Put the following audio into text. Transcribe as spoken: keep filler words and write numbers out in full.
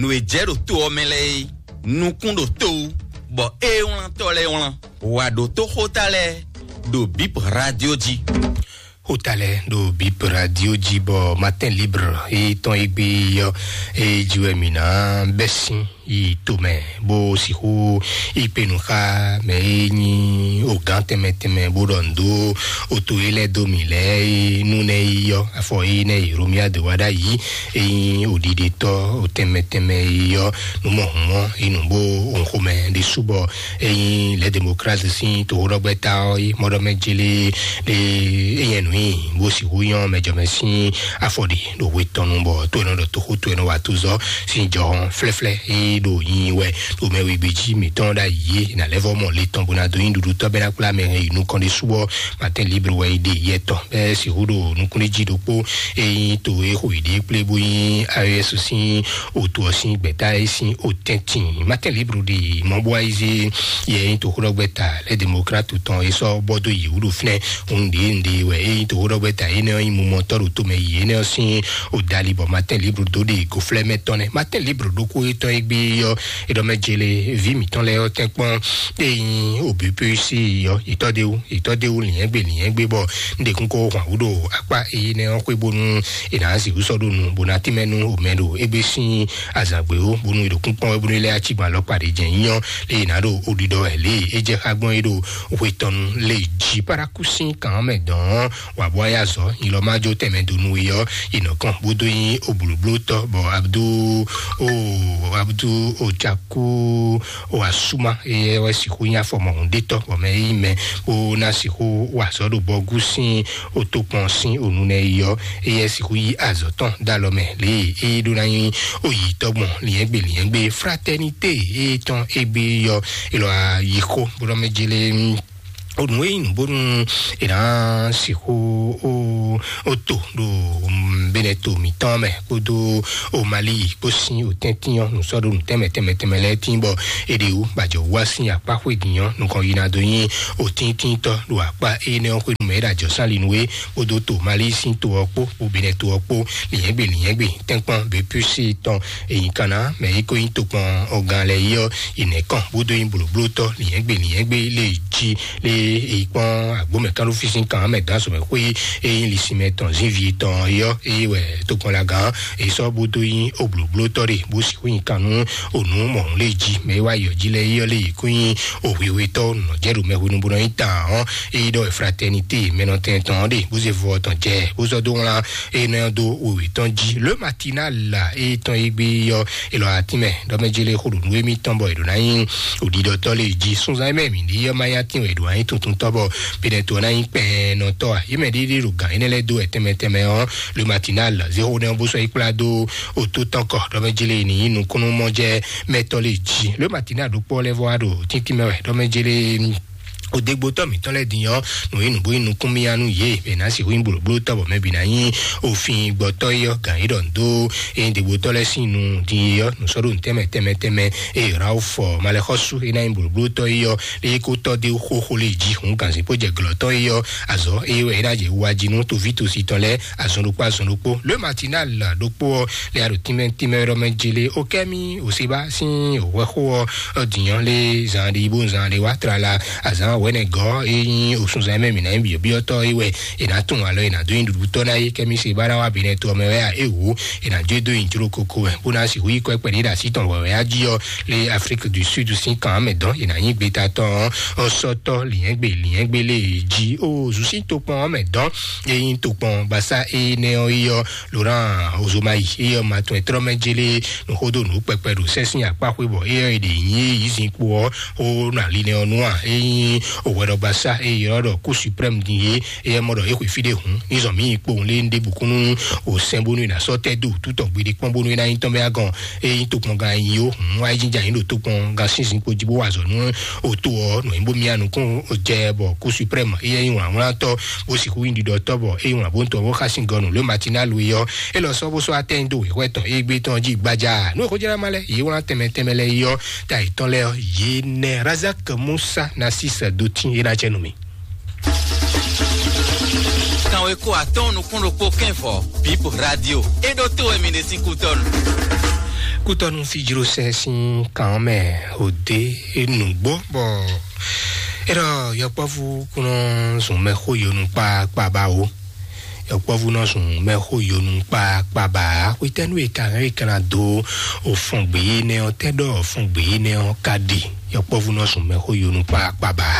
Nǔ e jɛ ɖo to ɔ́ mɛ lɛ́ɛ é, nukún ɖo to wú, bɔ ée wlántɔ́ lɛ́ɛ wlán. Wǎ ɖo tóxóta lɛ́ɛ ɖo Bip Radio jí. Xota lɛ́ɛ ɖo Bip Radio jí, bɔ Matin Libre e tɔn e gbé ɔ́, e jí wɛ mǐ ná bɛ́ sín yi tomɛ, bó sixú yi kpe nǔ xá mɛ e nyí ogán tɛnmɛ tɛnmɛ, bó ɖɔ nǔ dó oto e lɛ́ dó mǐ lɛ́ɛ e nú nɛ́ yi ɔ́, afɔ e nɛ́ yi Romia de wá ɖ'ayǐ, e nyí oɖiɖetɔ́ tɛnmɛ tɛnmɛ yi ɔ́, nǔ mɔ hǔn ɔ́ yi nǔ bó òun xomɛ ɖésú bɔ e nyí lɛ̌ demokrasi sín toxóɖɔgbɛ́ta ɔ́ yi mɔɖɔmɛ jélé ɖé, e nyɛ nǔ nyi bó sixú nyɔ́ mɛjɔmɛ sín afɔ ɖe ɖo hwe tɔn nu, bɔ to e nɔ ɖɔ toxó to e nɔ wa tozɔ sín jɔhɔn flɛ́flɛ́ e ɖo nyi wɛ ɖo mɛ wegbe jí mǐtɔn ɖ'ayǐ e nǎ lɛ́ vɔ mɔ le tɔn bó ná dó nyí ɖuɖutɔ́ bɛ́ ná kplá mɛ hɛn yi nukɔn ɖésú ɔ́. Matin Libre wɛ yi ɖe yɛ tɔn bɛ́ sixú ɖo nukúnɖéjí ɖokpó e nyí to e xo yě ɖe kplé bó nyí A E S sín otu ɔ́ sín gbɛ̌ta e sín otɛ́ntin. Matin Libre ɖi mɔ̌ bó wá yi zé yɛ e nyí toxóɖɔgbɛ́ta lɛ́ demokratu tɔn e sɔ́ bɔ dó yě wú ɖo fínɛ́. Hun ɖě un ɖe wɛ e nyí toxóɖɔgbɛ́ta énɛ́ ɔ́ nyí mumɔtɔ́ ɖo tomɛ yi énɛ́ ɔ́ sín odali bɔ Matin Libre dó ɖe goflɛ́mɛ tɔn nɛ́. Matin Libre ɖokpó e tɔn e gbé ɔ́, e ɖɔ mɛ jele ví mǐtɔn lɛ́ɛ ɔ́ tɛ́nkpɔ́n e nyí O B P C ɔ́, yětɔ́ ɖé wú, yětɔ́ ɖé wú lǐnyɛ́gbe lǐnyɛ́gbe bɔ un ɖe kún kó hwan wú ɖo akpá énɛ́ ɔ́ xwé bónú è nǎ sixú sɔ́ ɖó nu bó ná tínmɛ nú omɛ ɖo égbé sín azǎn gbé ó, bónú è ɖo kúnkpɔ́n wɛ bónú é lɛ́ acígbɔn alɔkpa ɖě jɛ́n nyí ɔ́, lě e è nǎ ɖo oɖiɖɔ wɛ lě e é jɛ xá gbɔn é ɖo hwe tɔn nu lě jí. Paraku sín kan ɔ́ mɛ dɔn ɔ́, wǎ bó wá yá azɔ̌ nyi lɔ má jó tɛnmɛ dó nú we ɔ́, è nɔ kɔn bó dó nyí oblǒblótɔ́ bɔ Abdu o Abdu Ocaku o Asuma, éyɛ́ wɛ sixú nyí afɔmɔhunɖétɔ́ bɔ mɛ e nyí mɛ bó ná sixú wa azɔ̌ ɖo bɔgú sín otokpɔn sín onú nɛ́ yi ɔ́, éyɛ́ sixú yí azɔ̌ tɔn dó alɔ mɛ lě e é ɖó ná nyí oyǐtɔ́ gbɔn lǐnyɛ́gbe lǐnyɛ́gbe Fraternité e tɔn égbé yi ɔ́, é lɔ yi xó bó nɔ mɛ jélé. Onú e nyí nǔ bónú è nǎ sixú ó to ɖo Benɛto mǐtɔn mɛ kpódó o Mali kpó sín o tɛ́ntin ɔ́, nǔ sɔ́ ɖó nǔ tɛnmɛ tɛnmɛ tɛnmɛ lɛ́ɛ tín bɔ è ɖe wú bɔ ajɔ wá sín akpá xwé din ɔ́, nukɔn yi ná dó nyí o tíntíntɔ́ ɖo akpá énɛ́ ɔ́ xwénu mɛ é ɖo ajɔ sán linú é, kpódó to Mali sín to ɔ́ kpó kpó Benɛto ɔ́ kpó, lǐnyɛ́gbe lǐnyɛ́gbe tɛ́nkpɔ́n B P C tɔn èyí kan ná mɛ é kó nyí tokpɔn ɔgán lɛ́ɛ yi ɔ́, yi nɛ̌ kɔn bó dó nyí blǒblótɔ́ lǐnyɛ́gbe lǐnyɛ́gbe lé jí lé èyí kpɔ́n agbǒmɛ kánɖófísin kan mɛ dó azɔ̌mɛ xwé e nyí lisinmɛ tɔn zínvi tɔn é ɔ́, é wɛ tokpɔnlagán èyí sɔ́ bó dó nyí oblǒblótɔ́ ɖe bó sixú nyí kan nú ònú mɔ̌hun lé jí mɛ é wá yɔ jí lɛ́ɛ é ɔ́ lé yě kó nyí òhwihwetɔ́ nɔ́ jɛ ɖo mɛ hwenu bó nɔ nyí tawun ɔ́, é ɖɔ Fraternité mɛnɔtɛn tɔn ɔ́ ɖe bó zé vɔ tɔn jɛ bó zɔ dó wlán é nɔ dó wěwé tɔn jí. Le Matinal é tɔn é gbé ɔ́, é lɔ atínmɛ ɖɔ mɛ jélé xó ɖo nú émítɔn bɔ è ɖǒ ná nyí òɖiɖɔtɔ́ lé jí. Sunzan e mɛ mǐ ɖi ɔ́ má nyí atín wɛ è ɖǒ ná nyí tuntun tɔ́ bɔ Benɛto ná nyí kpɛɛnɔtɔ́ a? Yě mɛ ɖé ɖé ɖo gǎn énɛ́ lɛ́ɛ dó wɛ tɛnmɛ tɛnmɛ ɔ́, Le Matinal zé xó nɛ́ ɔ́ bó sɔ́ yi kplá dó otó tɔn kɔ ɖɔ mɛ jélé ní nyí nukúnnú mɔ jɛ mɛtɔ́ lé jí. Le Matinal ɖokpó lɛ́ɛ vɔ wá ɖo tíntín mɛ wɛ ɖɔ mɛ jélé odegbotɔ mǐtɔn lɛ́ɛ din ɔ́, nǔ e nǔbó nyí nukúnmíyá nú yě, è nǎ sixú nyí blǒblótɔ́ bɔ mɛ bǐ ná nyí òfin gbɔtɔ́ é ɔ́, gǎn é ɖɔ nǔ dó é nyí degbotɔ́ lɛ́ɛ sín nu din é ɔ́, nǔ sɔ́ ɖó nǔ tɛnmɛ tɛnmɛ tɛnmɛ é Ralph Malexɔ́sú é ná nyí blǒblótɔ́ é ɔ́, lé é kó tɔ́ dé xóxó lé jí hǔn gǎnzín bó jɛ glɔ̌ tɔn é ɔ́, azɔ̌ é wɛ é ná jɛ wa jí nú tovítosí tɔn lɛ́ɛ azɔn ɖokpó azɔn ɖokpó. Le Matinal ɖokpó ɔ́, lɛ a ɖo tínmɛ tínmɛ ɖɔ mɛ jele o kɛmi o seba sín o wɛ xó ɔ́, ɔ dǐnyɔ́ lé zan ɖe bó zan ɖe wá tlala azan wɛnɛ gɔ́ e nyí osunzan mɛ mǐ ná nyí byɔ̌byɔ́tɔ́ é wɛ è nǎ tún alɔ è nǎ dó nyi ɖuɖutɔ́ ná é kɛmi seba ná wá bi nɛ to ɔmɛ wɛ a é wǒ è nǎ jó dó nyi jló koko wɛ bó ná sixú yí kɔ kpɛɖé ɖo así tɔn wɛwɛ á jí ɔ́ lé Afrique du Sud sín kan mɛ dɔn è nǎ nyí gbeta tɔn ɔ́ sɔ́tɔ́ lǐnyɛ́gbe lǐnyɛ́gbe lé jí ó zǔsí tokpɔn ɔ́ mɛ dɔn e nyí tokpɔn gbasá énɛ́ ɔ́ é ɔ́ Laurent Ozomayi é ɔ́ ma tɔn ɛ trɔ́ mɛ jélé nǔxódó nǔ kpɛkpɛ ɖo sɛ́sìn akpá xwé bɔ é ɔ́ è ɖe nyí yǐzin kpo ɔ́ xó nɔ ali nɛ ɔ́ nú à é nyí òwɛɖɔgbasá é ylɔ́ ɖɔ Cour suprême din é é mɔ ɖɔ é xwe fí ɖé hǔn ní zɔn mǐ yi kpowun lé ɖěbǔ kún nú òsɛn bónú è nǎ sɔ́ tɛ́ dó wǔtú tɔn gbeɖé kpɔ́n bónú é ná nyí tɔn bɛ́ agɔn é nyí tokpɔngán nyi ó hǔn wá é jínjɛ́n anyǐ ɖo tokpɔngán sínsìn kpo jí bó wa azɔ̌ nú òtó ɔ́ nǔ nyí bó myá nukún jɛ bɔ Cour suprême é nyí wlǎnwlántɔ́ bó sixú nyí ɖiɖɔtɔ́ bɔ é nyí wlǎn bó ń tɔn bó xá sín gɔnu lě Matinal é ɔ́ é lɔ sɔ́ bó sɔ́ atɛ́nyi dó wěxwɛ́ tɔn égbé tɔn jí gbaja nú è xójá má lɛ́ɛ yě wlán tɛnmɛ tɛnmɛ lɛ́ɛ é ɔ́ ta yětɔn lɛ́ɛ ɔ́ yě nɛ Razak Musa Nasis Dotin é ná jɛ nú mì. Kanweko atɔ́ɔ́n nukún ɖokpó kɛ́nvɔ Bip Radio é ɖó tó wɛ mi ɖe sín kútɔ́nu. Kútɔnú fíjlósɛ sín kan mɛ òde nǔgbó bɔ é ɖɔ yɔkpɔ́vú kún nɔ zun mɛxó yonu kpákpá ba o. Yɔkpɔ́vú nɔ zun mɛxó yonu kpákpá ba. Xwetɛ́nú e ka hɛn e ka ná dó o fɔn gbě énɛ́ ɔ́ tɛ́ ɖɔ fɔn gbě énɛ́ ɔ́ ka ɖe. Yɔkpɔ́vú nɔ zun mɛxó yonu kpákpá ba.